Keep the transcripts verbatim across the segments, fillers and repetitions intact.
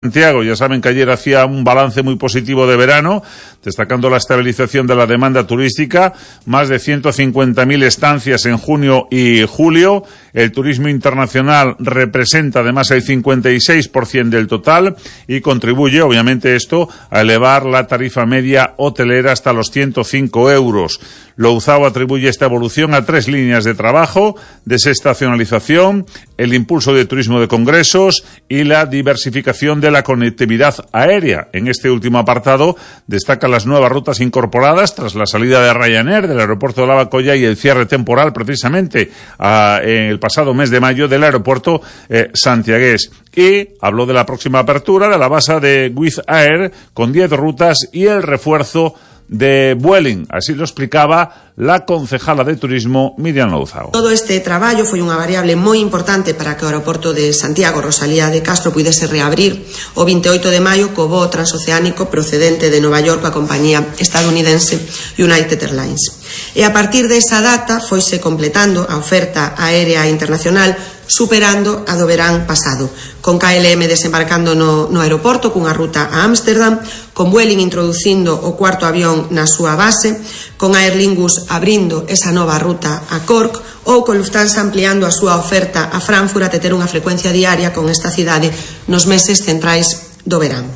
Santiago, ya saben que ayer hacía un balance muy positivo de verano, destacando la estabilización de la demanda turística, más de ciento cincuenta mil estancias en junio y julio. El turismo internacional representa además el cincuenta y seis por ciento del total y contribuye, obviamente, esto a elevar la tarifa media hotelera hasta los ciento cinco euros. Louzao atribuye esta evolución a tres líneas de trabajo: desestacionalización, el impulso de turismo de congresos y la diversificación de la conectividad aérea. En este último apartado destaca las nuevas rutas incorporadas tras la salida de Ryanair del aeropuerto de Lavacolla y el cierre temporal precisamente a, en el pasado mes de mayo del aeropuerto eh, santiagués. Y habló de la próxima apertura de la base de Wizz Air con diez rutas y el refuerzo de Vueling. Así lo explicaba la concejala de turismo Miriam Louzao. Todo este traballo foi unha variable moi importante para que o aeroporto de Santiago Rosalía de Castro pudese reabrir o veintiocho de maio co voo transoceánico procedente de Nova York coa compañía estadounidense United Airlines. E a partir desa data foise completando a oferta aérea internacional, superando a do verán pasado, con K L M desembarcando no, no aeroporto cunha ruta a Ámsterdam, con Vueling introducindo o cuarto avión na súa base, con Aer Lingus abrindo esa nova ruta a Cork, ou con Lufthansa ampliando a súa oferta a Frankfurt a ter unha frecuencia diaria con esta cidade nos meses centrais do verán.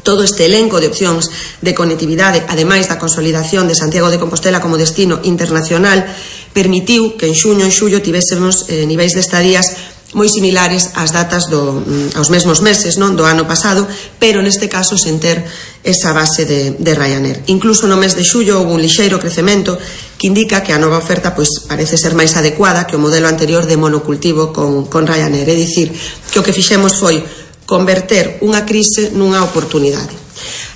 Todo este elenco de opcións de conectividade, ademais da consolidación de Santiago de Compostela como destino internacional, permitiu que en xuño e xullo tivésemos eh, niveis de estadías moi similares ás datas do, aos mesmos meses, non, do ano pasado, pero neste caso sen ter esa base de, de Ryanair. Incluso no mes de xullo houve un lixeiro crecemento que indica que a nova oferta pois parece ser máis adecuada que o modelo anterior de monocultivo con, con Ryanair. É dicir, que o que fixemos foi converter unha crise nunha oportunidade.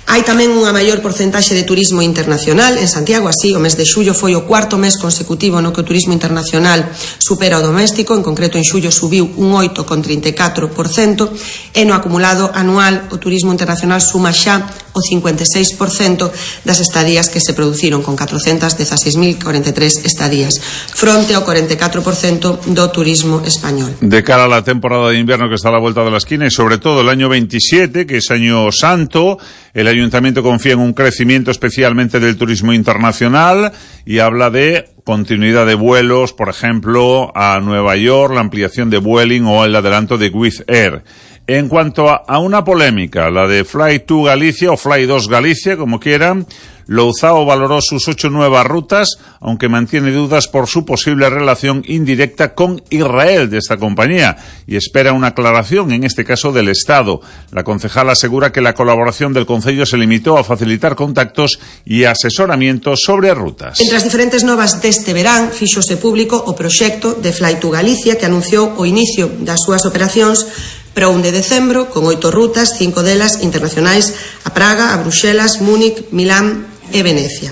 Hai tamén unha maior porcentaxe de turismo internacional en Santiago, así o mes de xullo foi o cuarto mes consecutivo no que o turismo internacional supera o doméstico, en concreto en xullo subiu un oito coma trinta e catro por cento e no acumulado anual o turismo internacional suma xa o cincuenta e seis por cento das estadías que se produciron, con catrocentas dezaseis mil cuarenta e tres estadías, fronte ao cuarenta e catro por cento do turismo español. De cara a la temporada de invierno que está a la vuelta de la esquina y sobre todo el año veintisiete, que es año santo, el Ayuntamiento confía en un crecimiento especialmente del turismo internacional y habla de continuidad de vuelos, por ejemplo, a Nueva York, la ampliación de Vueling o el adelanto de Wizz Air. En cuanto a, a una polémica, la de Fly dos Galicia o Fly dos Galicia, como quieran, Louzao valoró sus ocho nuevas rutas, aunque mantiene dudas por su posible relación indirecta con Israel de esta compañía y espera una aclaración, en este caso del Estado. La concejala asegura que la colaboración del Concello se limitó a facilitar contactos y asesoramiento sobre rutas. Entre as diferentes novas deste verán, fíxose público o proxecto de Fly dos Galicia, que anunciou o inicio das súas operacións para un de decembro, con oito rutas, cinco delas internacionais a Praga, a Bruxelas, Múnich, Milán e Venecia.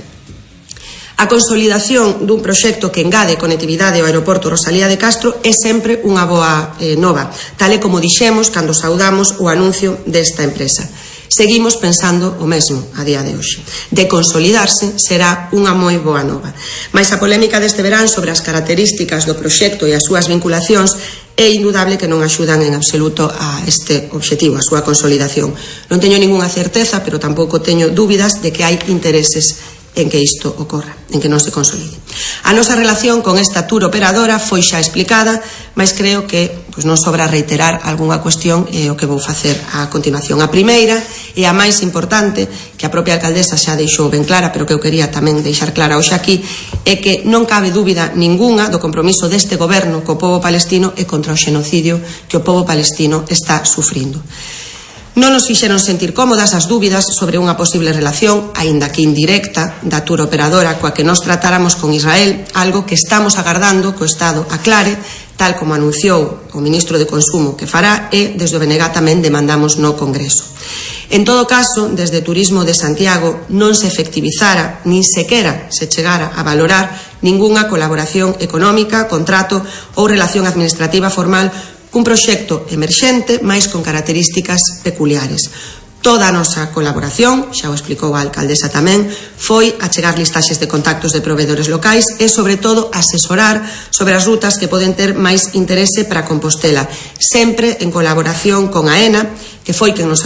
A consolidación dun proxecto que engade conectividade ao aeroporto Rosalía de Castro é sempre unha boa eh, nova, tal e como dixemos cando saudamos o anuncio desta empresa. Seguimos pensando o mesmo a día de hoxe. De consolidarse será unha moi boa nova. Mais a polémica deste verán sobre as características do proxecto e as súas vinculacións é indudable que non axudan en absoluto a este obxectivo, a súa consolidación. Non teño ningunha certeza, pero tampouco teño dúbidas de que hai intereses en que isto ocorra, en que non se consolide. A nosa relación con esta tour operadora foi xa explicada, mas creo que pois, non sobra reiterar algunha cuestión e o que vou facer a continuación. A primeira e a máis importante, que a propia alcaldesa xa deixou ben clara, pero que eu quería tamén deixar clara hoxe aquí, é que non cabe dúbida ningunha do compromiso deste goberno co pobo palestino e contra o xenocidio que o pobo palestino está sufrindo. Non nos fixeron sentir cómodas as dúbidas sobre unha posible relación, aínda que indirecta, da tour operadora coa que nos tratáramos con Israel, algo que estamos agardando que o Estado aclare, tal como anunciou o ministro de Consumo que fará, e desde o B N G tamén demandamos no Congreso. En todo caso, desde Turismo de Santiago non se efectivizara, nin sequera se chegara a valorar ningunha colaboración económica, contrato ou relación administrativa formal cun proxecto emerxente, máis con características peculiares. Toda a nosa colaboración, xa o explicou a alcaldesa tamén, foi achegar listaxes de contactos de proveedores locais e, sobre todo, asesorar sobre as rutas que poden ter máis interese para Compostela, sempre en colaboración con AENA, que foi quen nos